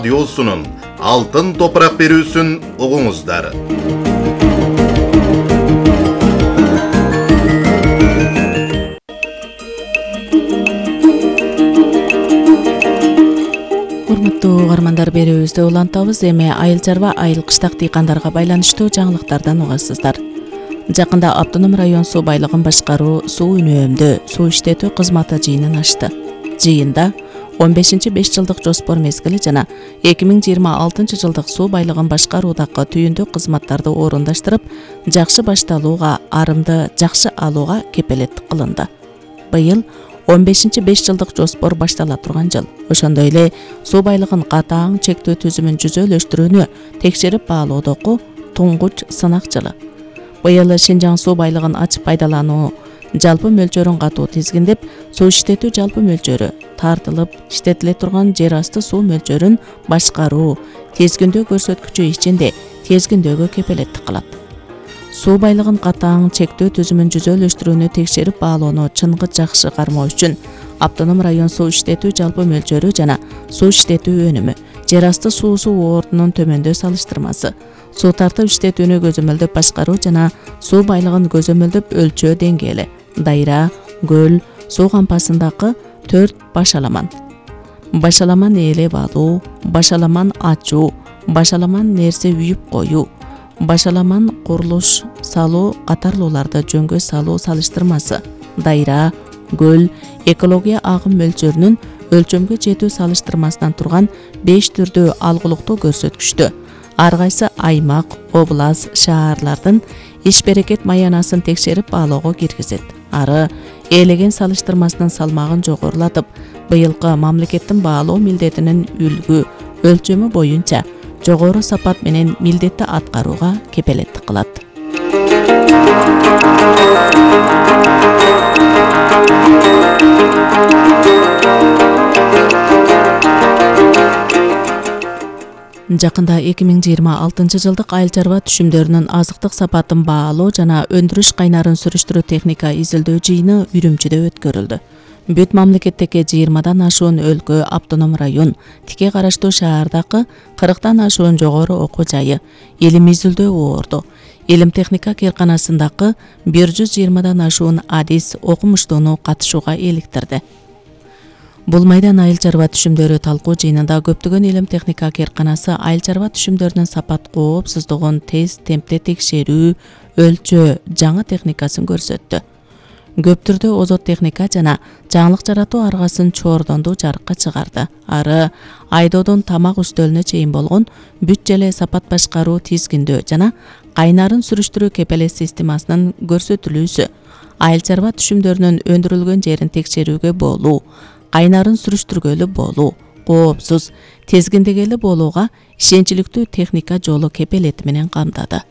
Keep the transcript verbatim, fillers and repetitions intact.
радиосунун алтын топурак берүүсүн угуңуздар. Урматтуу угармандар, берүүбүздү улантабыз. Эми айыл чарба, айыл кыштак дыйкандарга байланыштуу жаңылыктардан угасыздар. Жакында Автоном район суу байлыгын башкаруу суу үнөөмдөө, суу иштетүү кызматы жыйынын ачты. Жыйында он бешинчи беш жылдык жоспор мезгили жана эки миң жыйырма алтынчы жылдык суу байлыгын башкаруудагы түйүндүк кызматтарды орундаштырып, жакшы башталууга, арымды жакшы алууга кепелеттик кылынды. Быйыл он бешинчи беш жылдык жоспор баштала турган жыл. Ошондой эле суу байлыгын катаң чектөө түзүмүн жүзөлөштүрүүнү текшерип баалоодогу туңгуч сынак жылы. Быйыл Шинжаң суу байлыгын ачып пайдалануу жалпы мөлчөрүн катуу тизгиндеп, суу иштетүү жалпы мөлчөрү, тартылып иштетиле турган жер асты суу мөлчөрүн башкаруу, тезгиндөө көрсөткүчү ичинде тезгиндөөгө кепелеттик кылат. Суу байлыгын катаң чектөө түзүмүн жүзөлөштүрүүнү текшерип баалоону чыныгы жакшы кармоо үчүн Автоном район суу иштетүү жалпы мөлчөрү жана суу иштетүү өнүмү, жер асты суусу ордунун төмөндөө салыштырмасы, суу тартып иштетүүнү көзөмөлдөп башкаруу жана суу байлыгын көзөмөлдөп өлчөө деңгээли, дайра, көл, суу кампасындагы төрт башаламан. Башаламан ээлеп алуу, башаламан ачуу, башаламан нерсе үйүп коюу, башаламан курулуш салуу катарлууларды жөнгө салуу салыштырмасы, дайра, көл, экология агым мөлчөрүнүн өлчөмгө жетүү салыштырмасынан турган беш түрдүү алгылыктуу көрсөткүчтү ар кайсы аймак, облас, шаарлардын иш берекет маянасын текшерип баалоого киргизет. Ары ээлеген салыштырмасынын салмагын жогорулатып, быйылкы мамлекеттин баалоо милдетинин үлгү, өлчөмү боюнча жогору сапат менен милдетти аткарууга кепелеттик кылат. Жакында эки миң жыйырма алтынчы жылдык айыл чарба түшүмдөрүнүн азыктык сапатын баалоо жана өндүрүш кайнарын сүрүштүрүү техника изилдөө жыйыны Үрүмчүдө өткөрүлдү. Бүт мамлекеттеги жыйырмадан ашуун өлкө, автоном район, тике караштуу шаардагы кырктан ашуун жогору окуу жайы, илим изилдөө орду, илим техника кыйрканасындагы бир жүз жыйырмадан ашуун адис окумуштууну катышууга иликтирди. Бул майдан айыл чарба түшүмдөрү талкуу жыйынында көптөгөн илим техника кыйрканасы айыл чарба түшүмдөрүнүн сапат коопсуздугун тез темпте текшерүү, өлчөө жаңы техникасын көрсөттү. Көп түрдө озот техника жана жаңылык жаратуу аргасын чоордондуу жарыкка чыгарды. Ары айдоодон тамак үстөлүнө чейин болгон бүт желе сапат башкаруу тизгиндөө жана кайнарын сүрүштүрүү кепелет системасынын көрсөтүлүүсү, айыл чарба түшүмдөрүнүн өндүрүлгөн жерин текшерүүгө болуу, кайнарын сүрүштүргөлү болуу, коопсуз, тезгиндегели болууга ишенчиликтүү техника жолу кепелети менен камдады.